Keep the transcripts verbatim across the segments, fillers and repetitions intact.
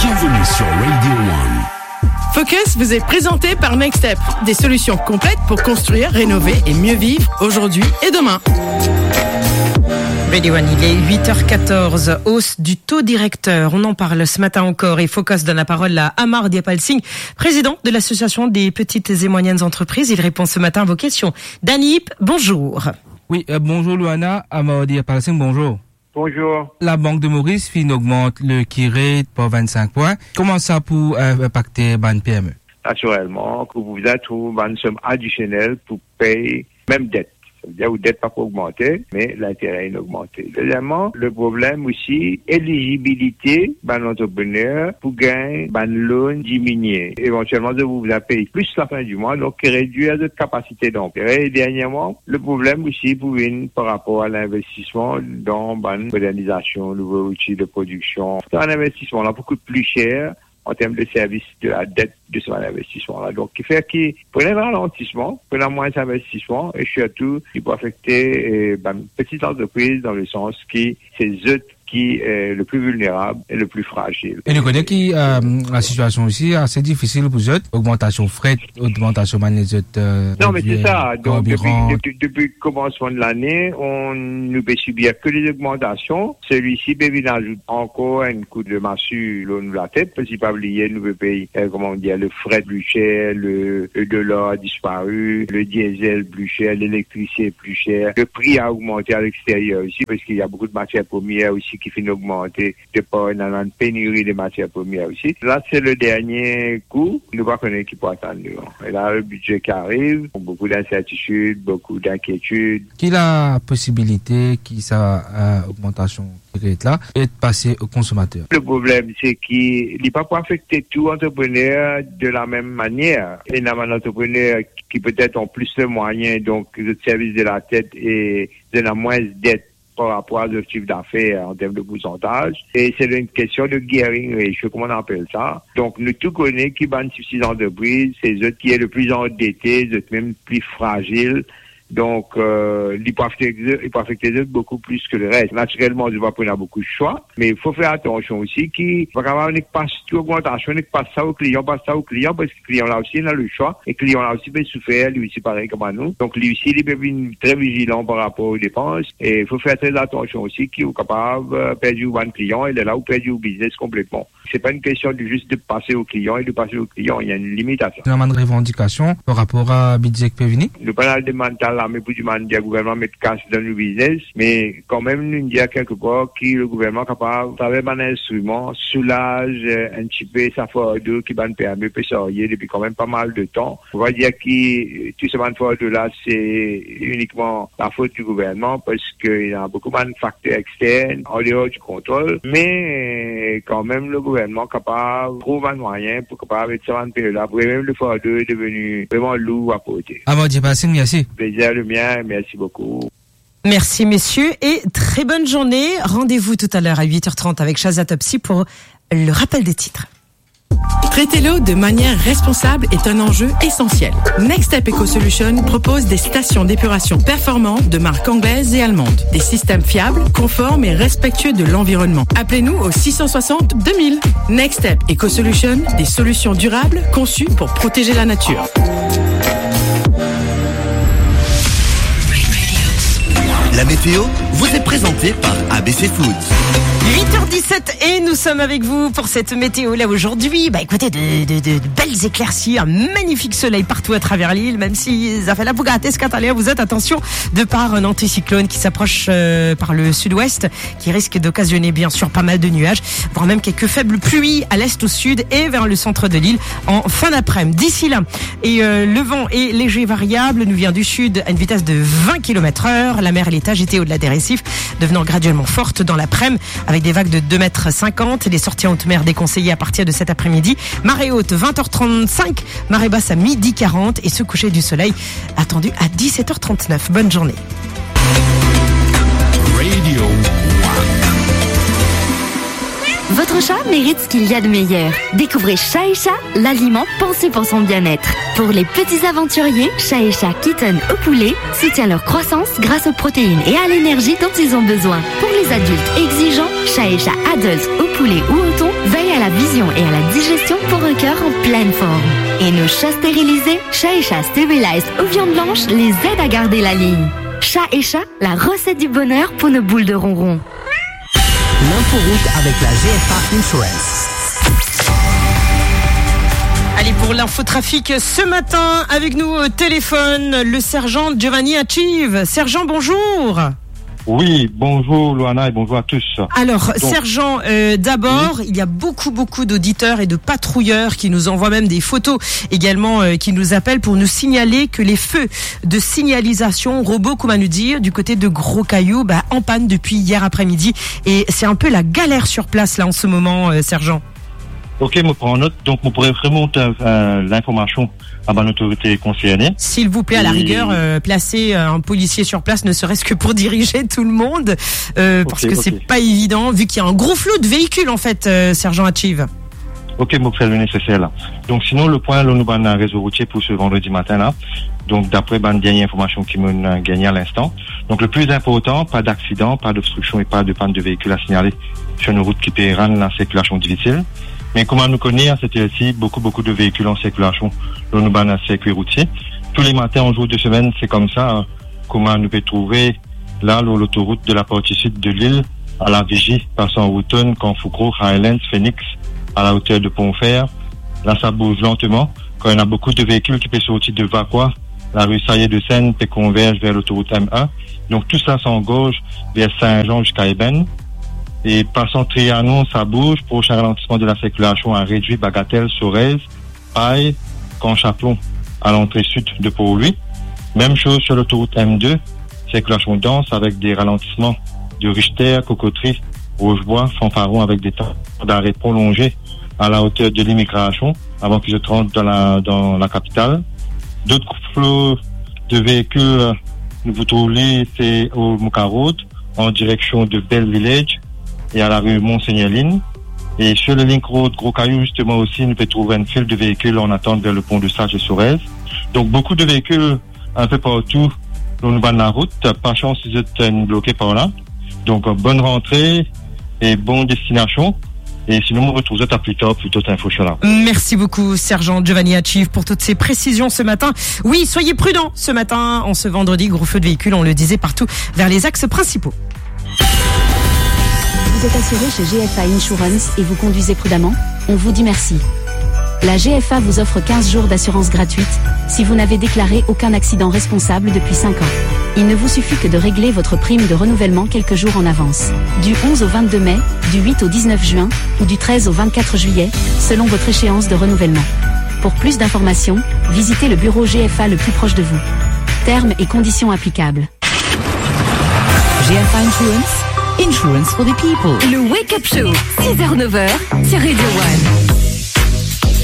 Bienvenue sur Radio One. Focus vous est présenté par Nextep, des solutions complètes pour construire, rénover et mieux vivre aujourd'hui et demain. Radio One, il est huit heures quatorze. Hausse du taux directeur, on en parle ce matin encore. Et Focus donne la parole à Amar Diapal Singh, président de l'Association des petites et moyennes entreprises. Il répond ce matin à vos questions. Danny Ip, bonjour. Oui, euh, bonjour Luana, Amar Diapal Singh, bonjour. Bonjour. Labank de Moris finn ogmant le key rate par vinn-sink pwin. Kouma sa pou, euh, inpakte bann P M E? Natirelman, ke pou bizin trouv bann som adisionel pou pey mem det. Savedir ou det pa pou ogmante, me lintere inn ogmante. Dezieman, le problem osi, elizibilite bann antreprener pou gagn bann loan diminie. Evantielman, zot pou bizin pey plis lafin di mwa, donk redwir zot kapasite dantere. E derniereman, le problem osi pou vinn par rapor a linvestisman dan bann modernizasion, nouvo zouti de prodiksion. Sa bann investisman la pou kout pli ser an term de servis de la det de sa bann investisman la. Donk, ki fer ki pou ena ralantisman, pou ena mwins investisman, e sirtou, ki pou afekte, eh, bann peti antrepriz dan le sans ki se zot ki, eh, le pli vilnerab e le pli frazil. E nou kone ki, euh, la sitiasion osi ase difisil pou zot, ogmantasion fret, ogmantasion bann lezot, euh, Non, me se sa. Donk, depi, karbiran. Depi, depi komansman de lane, nou pe sibir ke de ogmantasion. Selwisi pe vinn azout ankor enn kou de masi lor nou latet, parski pa bliye, nou pe pey, euh, koman dir, le fret pli ser, le, le dolar dispari, le diesel pli ser, lelektrisite pli ser, le pri a ogmante a lexteryer osi, parski ena boukou de matier premier osi ki finn ogmante, de par ena enn peniri de matier premier osi. La, se le dernie kou, nou pa kone ki pou atann nou. E la, le bidze ki ariv, boukou d'insertitid, boukou d'inkietid. Ki la posibilite ki sa, euh, ogmantasion ki ret la, et pase o konsomater? Le problem, se ki li pa pou afekte tou antreprener de la mem manier. Ena bann antreprener ki petet ena plis de mwayin, donk zot servis de latet e zot ena mwins det par rapor a zot sif dafer an term de poursantaz. E se enn kestion de gearing ratio, kouma nou apel sa. Donk, nou tou kone ki bann tipti antrepriz, se zot ki le pli andete, zot mem pli frazil. Donk, euh, li pou afekte, li pou afekte zot boukou plis ki leres. Natirelman, zot pa pou ena boukou swa, me fo fer atansion osi ki pa kapav nek pas tou ogmantasion, nek pas sa o klian, pas sa o klian, parski klian la osi ena le swa, e klian la osi pe soufer, li osi parey kouma nou. Donk, li osi, li pe vinn tre vizilan par rapor o depans, e fo fer tre atansion osi ki ou kapav, euh, perdi ou bann klian, e lerla ou perdi ou biznes konpletman. Se pa enn kestion de zis de pase o klian e de pase o klian, ena enn limit a sa. Ena bann revandikasion par rapor a bidze ki pe vini? Nou pa al demann ta lame pou demann dir gouvernman met kas dan nou biznes, me kanmem nou dir kelkepar ki le gouvernman kapav, atraver bann instriman, soulaz, euh, enn tipe sa fardo ki bann P M E pe sarye depi kanmem pa mal de tan. Ou va dir ki, euh, tou sa bann fardo la, se inikman lafot di gouvernman, parski ena boukou bann fakter extern, an deor di kontrol, me, euh, kanmem, le gouvernman kapav trouv bann mwayin pou kapav ed sa bann peyi la, pou mem le fardo deveni vreman lour a porte. Amar Diapal Singh, mersi. Plezir le mien, mersi boukou. Merci, messieurs, et très bonne journée. Rendez-vous tout à l'heure à huit heures trente avec Shazia Topsy pour le rappel des titres. Traiter l'eau de manière responsable est un enjeu essentiel. Next Step Eco Solution propose des stations d'épuration performantes de marque anglaise et allemande. Des systèmes fiables, conformes et respectueux de l'environnement. Appelez-nous au six cent soixante deux mille. Next Step Eco Solution, des solutions durables conçues pour protéger la nature. La météo vous est présentée par A B C Foods. Huit heures dix-sept et nous sommes avec vous pour cette météo là aujourd'hui. Bah écoutez, de, de, de, de belles éclaircies, un magnifique soleil partout à travers l'île, même si ça fait la bougate, est-ce qu'à l'heure vous êtes, attention, de par un anticyclone qui s'approche, euh, par le sud-ouest, qui risque d'occasionner bien sûr pas mal de nuages, voire même quelques faibles pluies à l'est, au sud et vers le centre de l'île en fin d'après-midi. D'ici là, et, euh, le vent est léger variable, nous vient du sud à une vitesse de vingt kilomètres heure. La mer, elle est agitée au-delà des récifs, devenant graduellement forte dans l'après-midi, avec des vagues de deux mètres cinquante. Les sorties en haute mer déconseillées à partir de cet après-midi. Marée haute, vingt heures trente-cinq, marée basse à midi quarante et ce coucher du soleil attendu à dix-sept heures trente-neuf. Bonne journée. Radio One. Votre chat mérite ce qu'il y a de meilleur. Découvrez Chat et Chat, l'aliment pensé pour son bien-être. Pour les petits aventuriers, Chat et Chat Kitten au poulet soutient leur croissance grâce aux protéines et à l'énergie dont ils ont besoin. Pour les adultes exigeants, Chat et Chat Adults au poulet ou au thon Conseil à la vision et à la digestion pour un cœur en pleine forme. Et nos chats stérilisés, Chat et Chat Sterilized ou viande blanche, les aident à garder la ligne. Chat et Chat, la recette du bonheur pour nos boules de ronron. L'inforoute avec la G F A Insurance. Allez, pour l'infotrafic ce matin, avec nous au téléphone, le sergent Giovanni Achieve. Sergent, bonjour. Oui, bonjour Loana et bonjour à tous. Alors, donc, sergent, euh, d'abord, oui, il y a beaucoup, beaucoup d'auditeurs et de patrouilleurs qui nous envoient même des photos également, euh, qui nous appellent pour nous signaler que les feux de signalisation robot, comme on nous dit, du côté de Gros Caillou, bah, en panne depuis hier après-midi. Et c'est un peu la galère sur place, là, en ce moment, euh, sergent. Ok, mo pran not. Donk, mo pou remont, euh, euh, linformasion a bann lotorite konserne. S'il vous plaît, à la rigueur, euh, placer, euh, un policier sur place, ne serait-ce que pour diriger tout le monde, euh, parce que c'est pas évident, vu qu'il y a un gros flot de véhicules, en fait, euh, sergent Achieve. Ok, mo fer le neseser la. Donk, sinon, le pwin, la, nou bann rezo routie pou se vandredi matin la. Donk, dapre bann dernie informasion ki mo gagne a linstan. Donk, le pli inportan, pa daksidan, pa d'obstriksion e pa de pann de veikil a signale sur nou rout ki pe rann lasirkilasion difisil. Me kouma nou kone, a set er si, boukou, boukou de veikil an sirkilasion lor nou bann sirkwi routie. Tou le matin, an zour de semenn, se koumsa, kouma nou pe trouve la, lor lotorout de la parti sid de lil, a La Vigie, pasan Wootton, Kanfoukro, Highlands, Phoenix, a la oter de Pont Fer. La, sa bouz lanteman, kan ena boukou de veikil ki pe sorti de Vacoas, lari Sayer-de-Seine pe konverz ver lotorout M un. Donk, tou sa, sa angorz ver Saint-Jean ziska Ebène. E pasan Trianon, sa bouz, prosin ralantisman de lasirkilasion a redwir, Bagatelle, Sorèze, Paille, Camp Chapelon, a lantre sid de Port-Louis. Mem soz sur lotorout M deux, sirkilasion dans avek de ralantisman de Richter, Cocoterie, Rochebois, Fanfaron, avek de tan d'are prolonze a la oter de limigrasion avan ki zot rant dan la, dan lakapital. Dot flo de veikil, nou pou trouv li, se o Mouka Road, an direksion de Bell Village e a lari Monseigneur Lin. E sur le link road Gros Caillou, zisteman osi, nou pe trouv enn fil de veikil an atant ver le pon de Sache e Sorèze. Donk, boukou de veikil inpe partou lor nou bann larout. Pa sans si zot inn bloke par la. Donk, bonn rantre e bon destinasion. E sinon, nou retrouv zot a pli tar pou dot info sir la. Merci beaucoup, sergent Giovanni Achieve, pour toutes ces précisions ce matin. Oui, soyez prudents ce matin, en ce vendredi, gros flot de véhicules, on le disait, partout vers les axes principaux. Vous êtes assuré chez G F A Insurance et vous conduisez prudemment ? On vous dit merci. La G F A vous offre quinze jours d'assurance gratuite si vous n'avez déclaré aucun accident responsable depuis cinq ans. Il ne vous suffit que de régler votre prime de renouvellement quelques jours en avance. Du onze au vingt-deux mai, du huit au dix-neuf juin ou du treize au vingt-quatre juillet, selon votre échéance de renouvellement. Pour plus d'informations, visitez le bureau G F A le plus proche de vous. Termes et conditions applicables. G F A Insurance, insurance for the people. Le Wake Up Show, six heures, neuf heures, sur Radio One.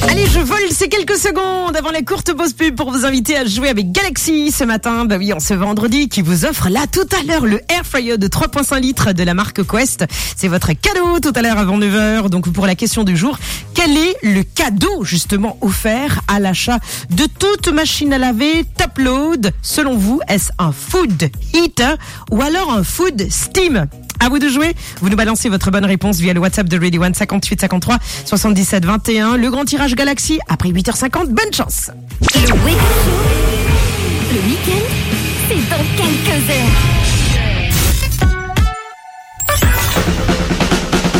Allez, je vole ces quelques secondes avant la courte pause pub pour vous inviter à jouer avec Galaxy ce matin. Bah oui, en ce vendredi, qui vous offre là tout à l'heure le air fryer de trois point cinq litres de la marque Quest. C'est votre cadeau tout à l'heure avant neuf heures. Donc pour la question du jour, quel est le cadeau justement offert à l'achat de toute machine à laver top load ? Selon vous, est-ce un food heater ou alors un food steam ? À vous de jouer. Vous nous balancez votre bonne réponse via le WhatsApp de Radio One, cinquante-huit cinquante-trois soixante-dix-sept vingt et un. Le grand tirage Galaxy après huit heures cinquante. Bonne chance. Le Wake Up Show, le week-end, c'est dans quelques heures.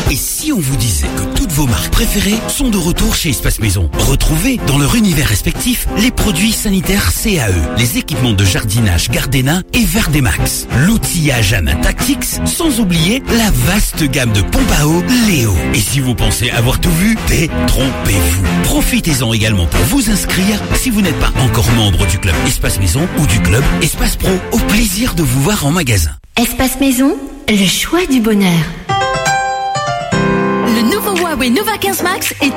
Et si on vous disait que toutes vos marques préférées sont de retour chez Espace Maison ? Retrouvez dans leur univers respectif les produits sanitaires C A E, les équipements de jardinage Gardena et Verdemax, l'outillage Ana Tactics, sans oublier la vaste gamme de pompes à eau Leo. Et si vous pensez avoir tout vu, détrompez-vous. Profitez-en également pour vous inscrire si vous n'êtes pas encore membre du club Espace Maison ou du club Espace Pro. Au plaisir de vous voir en magasin. Espace Maison, le choix du bonheur. Le nouveau Huawei Nova quinze Max est